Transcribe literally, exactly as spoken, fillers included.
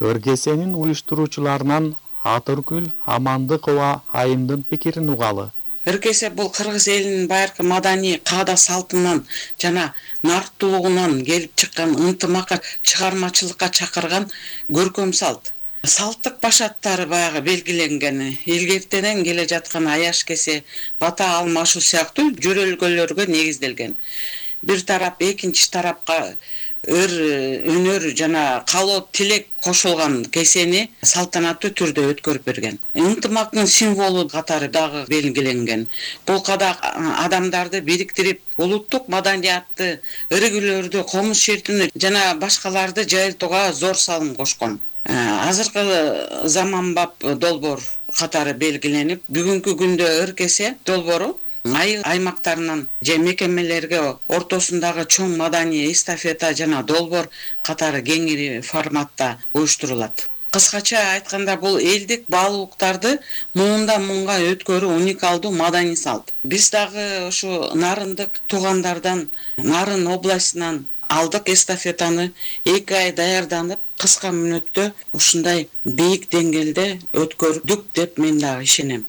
Өркесенин уюштуруучуларынан Атыргүл Амандыкова айымдын пикирин угалы. Өркесе бул кыргыз элинин байыркы маданий каада салтынан жана нарктуулугунан келип чыккан ынтымакка, чыгармачылыкка чакырган көркөм салт. Салттык башаттары баягы белгиленген, илгертеден келе жаткан аяш кесе, бата алмашуу сыяктуу жөрөлгөлөргө негизделген. Бир тарап экинчи тарапка өр өнөр жана каалоо тилек кошулган кесени салтанаттуу түрдө өткөрүп берген. Ынтымактын символу катары дагы белгиленген. Бул када адамдарды бириктирип, улуттук маданиятты, өргүлөрдү, комуз шертүүнү жана башкаларды жайылтууга зор салым кошкон. Азыркы заманбап долбоор катары белгиленип, бүгүнкү күндө Өркесе долбоору айыл аймактарынан же мекемелерге ортосундагы чоң маданий эстафета жана долбоор катары кеңири форматта уюштурулат. Кыскача айтканда, бул элдик баалуулуктарды муундан муунга өткөрүү уникалдуу маданий салт. Биз дагы ушу нарындык туугандардан, Нарын областынан алдык эстафетаны эки ай даярданып, кыска мүнөттө ушундай бийик деңгээлде өткөрдүк деп мен дагы ишенем.